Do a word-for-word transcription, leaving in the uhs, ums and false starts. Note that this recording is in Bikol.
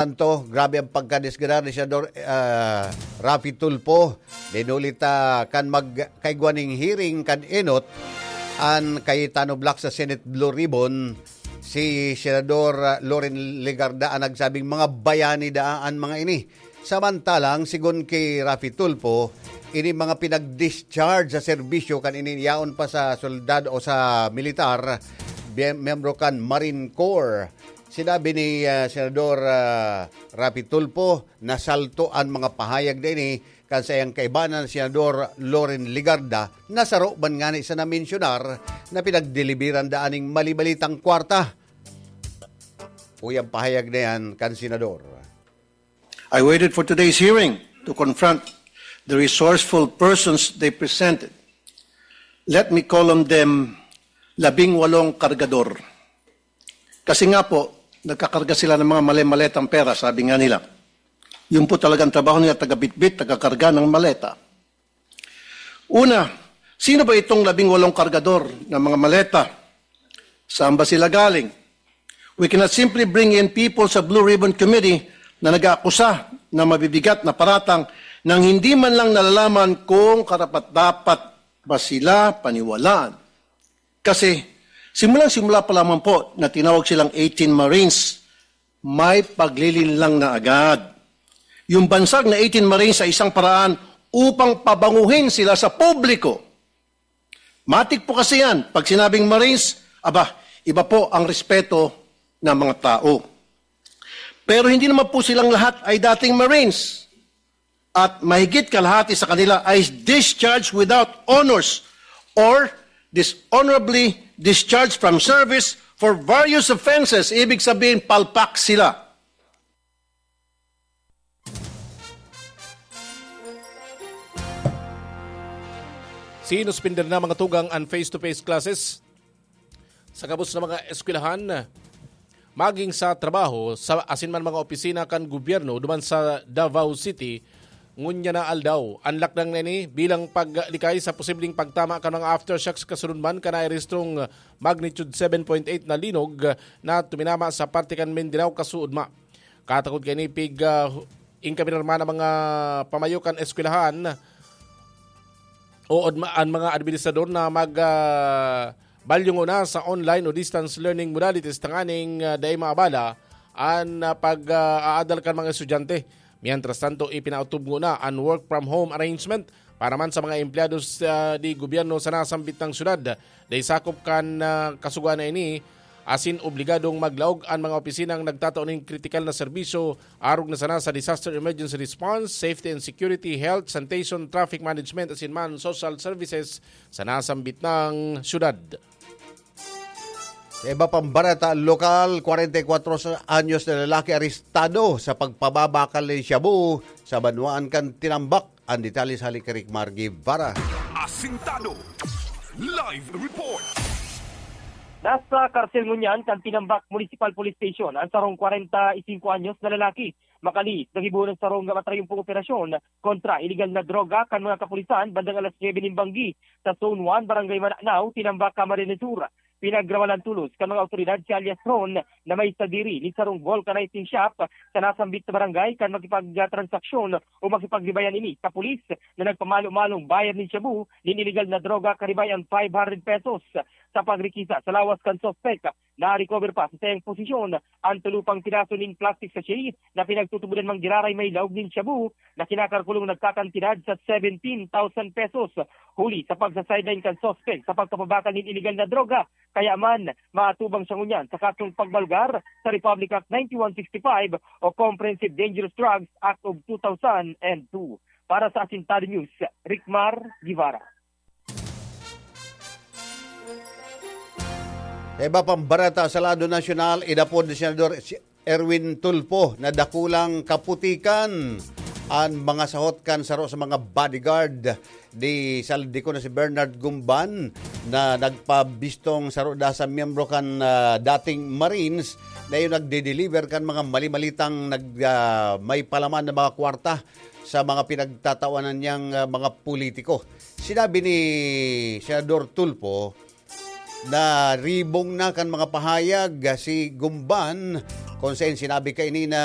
Tanto, grabe ang pagkadisgradar ni Senador, ah, Raffy Tulfo. Dinuli ta kan magkaigwa ning hearing kan ENOT, an Cayetano Block sa Senate Blue Ribbon, si Senador, ah, Loren Legarda an nagsabing mga bayani daa an mga ini. Samantalang, sigon ki Raffy Tulfo, ini mga pinag-discharge sa serbisyo kan ini yaon pa sa soldado o sa militar, bie-, miyembro kan Marine Corps. Sinabi ni, ah, Senador, ah, Raffy Tulfo, nasalto an mga pahayag na ini kan saiyang kaibanan, Senador Loren Legarda, na saro man ngani sa namensyunar na pinagdeliberan daa ning mali-malitang kwarta. Uy, ang pahayag na yan kan Senador. I waited for today's hearing to confront the resourceful persons they presented. Let me call on them, labing walong kargador. Kasi nga po, nagkakarga sila ng mga male-maletang pera, sabi nga nila. Yun po talagang trabaho nila, taga-bitbit, taga-karga ng maleta. Una, sino ba itong labing walong kargador ng mga maleta? Saan ba sila galing? We cannot simply bring in people sa Blue Ribbon Committee na nag-aakusa ng mabibigat na paratang nang hindi man lang nalalaman kung karapat-dapat ba sila paniwalaan. Kasi simulang-simula pa lamang po na tinawag silang eighteen Marines, may paglilinlang na agad yung bansag na eighteen Marines sa isang paraan upang pabanguhin sila sa publiko. Matik po kasi yan. Pag sinabing Marines, aba, iba po ang respeto ng mga tao. Pero hindi naman po silang lahat ay dating Marines. At mahigit kalahati sa kanila ay discharged without honors or dishonorably discharged from service for various offenses. Ibig sabihin, palpak sila. Sinuspender na, mga tugang, an face-to-face classes sa gabos na mga eskwelahan, maging sa trabaho, sa asin man mga opisina kan gobyerno duman sa Davao City, ngunyan na aldaw. An lakdang na ini bilang paglikay sa posibleng pagtama kan mga aftershocks kasunod man kan nairehistrong magnitude seven point eight na linog na tuminama sa parte kan Mindanao kasuodma. Katakod kaini pig, ah, ingkaminar man ang mga pamayo kan eskwelahan o odma-, an mga administrador na mag, ah, balyo nguna sa online o distance learning modalities tanganing, ah, dai maabala an, ah, pag, ah, aadal kan mga estudyante. Mientras tanto, ipinautubngo na an work from home arrangement para man sa mga empleyado sa, di gobyerno sa nasambit na syudad. Dai sakop kan, ah, kasugoan na ini, asin obligadong maglaog an mga opisinang nagtatao nin kritikal na serbisyo arog na sana sa disaster emergency response, safety and security, health, sanitation, traffic management, asin man social services sa nasambit na syudad. Sa iba pang bareta lokal, kwarenta y kwatro sa anyos na lalaki arestado sa pagpababakal nin shabu sa banwaan kan Tinambac. An detalye sa hali kay Rick Mar Guevara. Asintado. Live report. Nasa karsel ngunyan kan Tinambac Municipal Police Station an sarong kwarenta y singko anyos na lalaki. Makaliit, nagibo an sarong matrayompong operasyon kontra iligal na droga kan mga kapulisan bandang alas nuebe nin banggi sa Zone one, Barangay Mananao, Tinambac, Camarines Sur. Pinagrawalan tolos kan mga awtoridad si alias Ron na may sadiri nin sarong vulcanizing shop sa nasambit na barangay kan makipagtransaksyon o makipagribayan ini sa pulis na nagpamalo-malong buyer nin shabu nin iligal na droga karibay an five hundred pesos. Sa pagrekisa sa lawas kan suspek, na-recover pa sa saiyang posisyon an tulo pang piraso nin plastic sachet na pinagtutubodan man giraray may laog nin shabu na kinakalkulong nagkakantidad sa seventeen thousand pesos. Huli sa pagsa-sideline kan suspek sa pagpapabakal nin iligal na droga, kaya man maatubang siya ngunyan sa kasong pagbalgar sa Republic Act ninety-one sixty-five o Comprehensive Dangerous Drugs Act of two thousand and two. Para sa Asintado News, Rickmar Guevara. Sa iba pang bareta sa lado nasyonal, inapod ni Senador si Erwin Tulfo na dakulang kaputikan an mga sahot kan saro sa mga bodyguard di Saldikon na si Bernard Gumban na nagpabistong saro da sa miyembro kan, ah, dating Marines na yung nagde-deliver kan mga mali-malitang nag, ah, may palaman na mga kwarta sa mga pinagtatawanan niyang, ah, mga politiko. Sinabi ni Senador Tulfo na ribong na kan mga pahayag, ah, si Gumban, kung saan sinabi kaini na